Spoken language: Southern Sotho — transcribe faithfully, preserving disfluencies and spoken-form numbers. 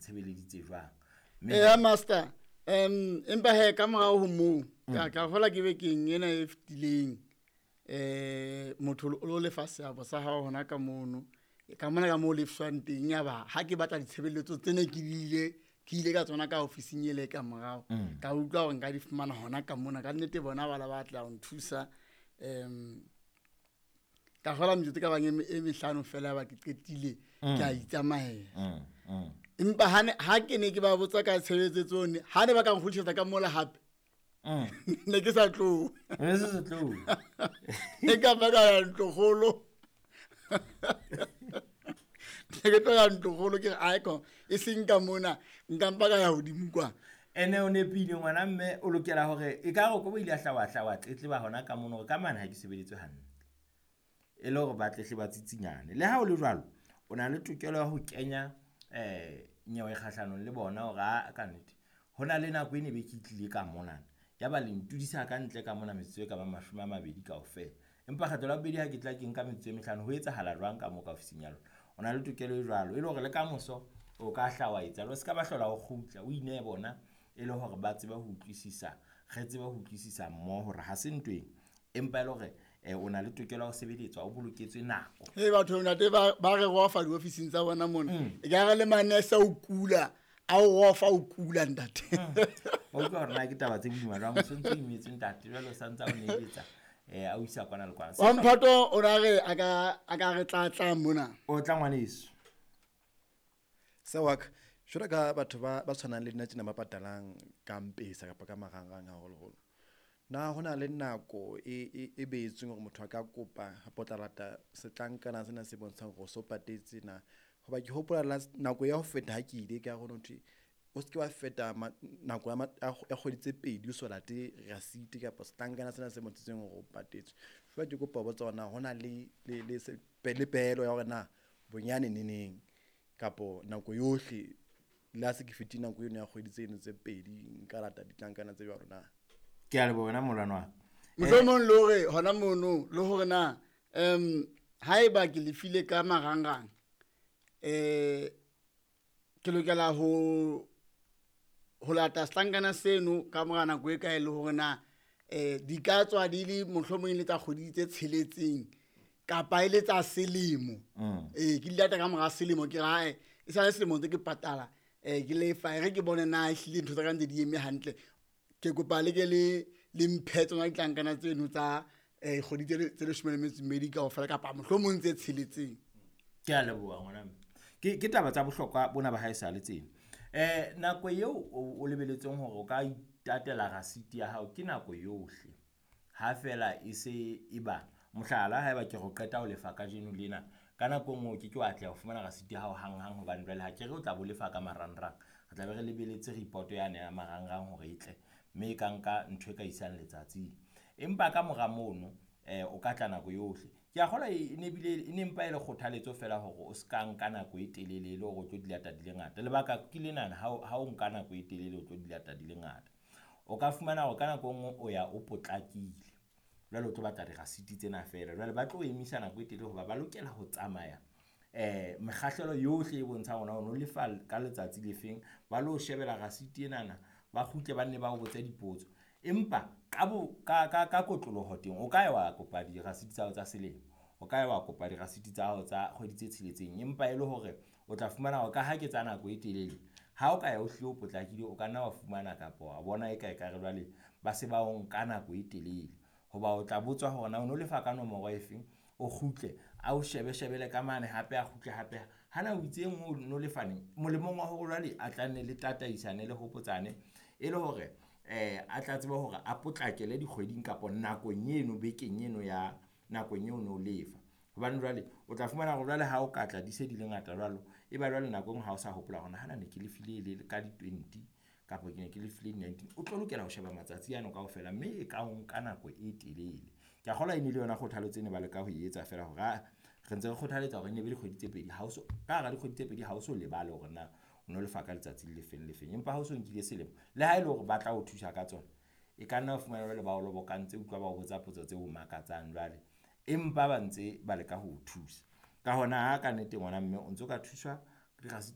ntshebeleditse jwang. Mme Eya master, um empa he ka morao ho moo ka ka hola ke bekeng ena e fetileng, um motho o lo lefa seabo sa hao hona ka mono, ka mona ka moo lefshwang teng. Ya ba ha ke batla ditshebeletso tsene ke ile ke ile ka tsona ka ofising ele ka morao, ka utlwa hore nka di fumana hona ka mona. Ka nnete bona ba la batla ho nthusa, um ka kgola metsotso e ka bang e me- e mehlano fela ya ba ke qetile, ke a itsamaela. Mm, mm. Empa ha ne- ha ke ne ke ba botsa ka tshebeletso tsone, ha ne ba ka nkgutlisetsa ka mola hape, Mm. ne ke sa tlohe. Ne se se tlohe. E ka ba ka ya ntlokgolo, ne ke tlo ya ntlokgolo, ke re aeko e seng ka mona, nka mpa ka ya hodimo kwa. Ene o nepile ngwana mme, o lokela hore e ka re ko bo ile a hla wa hla wa tletleba hona ka mono hore ka mane ha ke sebeditswe hantle, e le hore ba tletle ba tsitsinyane. Le ha o le jwalo, o na le tokelo ya ho kenya um nyewe kgahlanong le bona hore a ka nnete ho na le nako e ne be ke tlile ka monana, ya ba le ntudisa ka ntle ka mona metsotso e ka bang mashome a mabedi kaofela, empa kgetlo la bobedi ha ke tla ke nka metsotso e mehlano. Ho etsahala jwang ka moo ka ofising ya lona? O na le tokelo e jwalo, e le hore le kamoso o ka hla wa etsa, o se ka ba hlola o kgutla, o inehe bona, e le hore ba tsebe ho utlwisisa, re tsebe ho utlwisisa mmoho hore ha se ntweng, empa e le hore eh, o na le tokelo ya ho sebeletswa, o boloketswe nako. He batho ntate ba ba re rofa diofising tsa bona mona, e ka re le manese a o kula, a o rofa o kula ntate. Wa utlwa hore na ke taba tse boima jwang, o sontso o imetswe ntate, jwale o santse a o neletsa um a o isa kwana le kwana. Wa mphato o na re a ka a ka re tlatla mona. O tla ngwaneso. Se wa ka jwalo ka batho ba ba tshwanang le nna tjena, ba patalang ka mpesa kapa ka marangrang haholoholo, na ho na le nako e e e behetsweng hore motho a ka kopa kapa o tla lata setlankana sena se bontshang hore o so patetse na? Hoba ke hopola last nako ya ho feta ha ke ile ka ho thwe o se ke wa feta nako ya ya kgwedi tse pedi o so late rasiti kapa setlankana sena se bontshitseng hore o patetse. Jwale ke kopa ho botsa hore na ho na le le le le pehelo ya hore na bonyane neneng kapo nako yohle, le ha se ke fetile nako eno ya kgwedi tseno tse pedi, nka lata ditlankana tse jwalo na? Ke a leboha wena molwana wa ka. Mohlomong le hore hona mono le hore na um haeba ke lefile ka marangrang, eh ke lokela ho ho lata setlankana seno ka mora nako e kae, le hore na eh di ka tswa di le mohlomong e le tsa kgwedi tse tsheletseng kapa e le tsa selemo. Mm. Ee, ke di lata ka mora selemo, ke re hae e sale selemo ntse ke patala, um ke lefa, e re ke bone na ehlile ntho tsa ka ntse di eme hantle. Ke kopa le ke le le mphe tsona ditlankana tseno tsa um kgwedi tse tse leshome le metso e mmedi kaofela kapa mohlomong tse tsheletseng. Ke a leboha ngwana mme. Ke ke taba tsa bohlokwa bona ba haesale tsena. Eh nako eo o o lebeletseng hore o ka itatela rasiti ya hao ke nako yohle. Ha feela e se e ba mohlala, haeba ke re o qeta ho lefa kajeno lena, ka nako e nngwe o ke ke wa atleha ho fumana rasiti ya hao hanghang, hobane jwale ha ke re o tla bo lefa ka marangrang, re tla be re lebeletse report yane ya marangrang hore e tle, mme e ka nka ntho e ka isang letsatsing. Empa ka mora mono eh o ka tla nako yohle. Ke a kgolwa e ne bile e ne mpa e le kgothaletso feela hore o ska nka nako e telele e le hore o tlo di lata di le ngata. Lebaka ke lenana, ha o ha o nka nako e telele o tlo di lata di le ngata, o ka fumana hore ka nako e nngwe o ya o potlakile, jwale o tlo batla dirasiti tsena feela, jwale ba tlo emisa nako e telele hoba ba lokela ho tsamaya eh mekgahlelo yohle e bontshang hore na o no lefa ka letsatsi le feng, ba lo shebela rasiti enana, ba kgutle ba nne ba o botse dipotso. Empa ka bo ka ka ka kotloloho teng o ka ya wa kopa dirasiti tsa hao tsa selemo, o ka ya wa kopa dirasiti tsa hao tsa kgwedi tse tsheletseng, empa e le hore o tla fumana hore ka ha ke tsa nako e telele, ha o ka ya o hlile o potlakile, o ka nna wa fumana kapa wa bona e ka ekare jwale ba se ba o nka nako e telele. Hoba o tla botswa hore na o no lefa ka nomoro e feng, o kgutle a o shebe shebele ka mane hape, a kgutle hape hana o itse e nngwe o no lefa neng, molemong wa hore jwale a tla nne le tataisane le hopotsane, e le hore eh a tla tseba hore a potlakele dikgweding kapa nakong eno, bekeng eno ya nakong eo no lefa. Hobane jwale o tla fumana hore jwale ha o ka tla di se di le ngata jwalo, e ba jwale nako e nngwe ha o sa hopola hore hana ne ke lefile le ka di-twenty kapa ke ne ke lefile di-nineteen, o tlo lokela ho sheba matsatsi ano kaofela, mme e ka o nka nako e telele. Ke a kgolwa e ne le yona kgothaletso e ne ba leka ho e etsa feela hore ah, re ntse re kgothaletsa hore e nne be dikgwedi tse pedi, ha o so ka hara dikgwedi tse pedi ha o so lebale hore na o no lefa ka letsatsi le lefeng le feng. Empa ha o so nkile selemo, le ha e le hore ba tla o thusa ka tsona, e ka nna wa fumana jwale ba o lobokantse, utlwa ba o botsa potso tse o makatsang jwale, empa ba ntse ba leka ho o thusa. Ka hona ha ka nnete ngwana mme o ntso ka thuswa dirasiti.